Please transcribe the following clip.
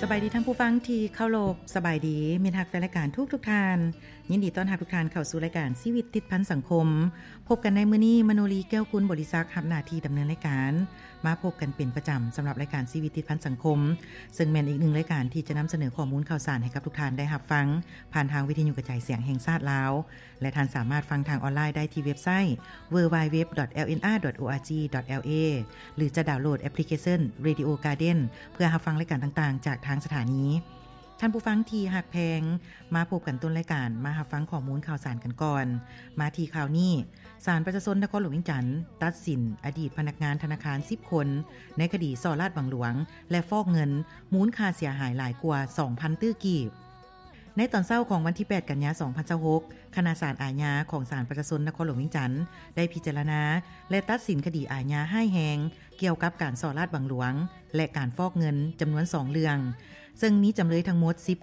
ສະບາຍດີທ່ານຜູ້ຟັງທີ່ເຄົາລົບ, ສະບາຍດີມິດຮັກແຟນລາຍການທຸກໆທ່ານ. ຍິນດີຕ້ອນຮັບທຸກທ່ານເຂົ້າສູ່ລາຍການຊີວິດຕິດພັນສັງຄົມ. ພົບກັນໃນມື້ນີ້, ມະໂນລີ ແກ້ວກຸນບໍລິສັກ ຮັບໜ້າທີ່ດຳເນີນລາຍການ. ມາພົບກັນເປັນປະຈຳສຳລັບລາຍການຊີວິດຕິດພັນສັງຄົມ, ເຊິ່ງແມ່ນອີກໜຶ່ງລາຍການທີ່ຈະນຳສະເໜີຂໍ້ມູນຂ່າວສານໃຫ້ກັບທຸກທ່ານໄດ້ຮັບຟັງ ຜ່ານທາງວິທະຍຸກະຈາຍສຽງແຫ່ງຊາດລາວ ແລະ ທ່ານສາມາດຟັງທາງອອນລາຍໄດ້ທີ່ເວັບໄຊ www.lnr.org.la ຫຼື ຈະດາວໂຫຼດແອັບພລິເຄຊັນ Radio Garden ເພື່ອຮັບຟັງລາຍການຕ່າງໆຈາກທາງສະຖານີ. ທ່ານຜູ້ຟັງທີ່ຮັກແພງ, ມາພົບກັນຕົ້ນລາຍການ, ມາຮັບຟັງຂໍ້ມູນຂ່າວສານກັນກ່ອນ. ມາທີ່ຂ່າວນີ້, ສານປະຊາຊົນນະຄອນຫຼວງວຽງຈັນ ຕັດສິນອະດີດພະນັກງານທະນາຄານສິບຄົນ ໃນຄະດີສໍ້ລາດບັງຫຼວງ ແລະ ຟອກເງິນ ມູນຄ່າເສຍຫາຍຫຼາຍກວ່າສອງພັນຕື້ກີບ. ໃນຕອນເຊົ້າຂອງວັນທີແປດ ກັນຍາ ສອງພັນຊາວຫົກ, ຄະນະສານອາຍາຂອງສານປະຊາຊົນນະຄອນຫຼວງວຽງຈັນ ໄດ້ພິຈາລະນາ ແລະ ຕັດສິນຄະດີອາຍາຮ້າຍແຮງ ກ່ຽວກັບການສໍ້ລາດບັງຫຼວງ ແລະ ການຟອກເງິນ ຈຳນວນສອງເລື່ອງ, ເຊິ່ງມີຈຳເລີຍທັງໝົດສິບຄົນ.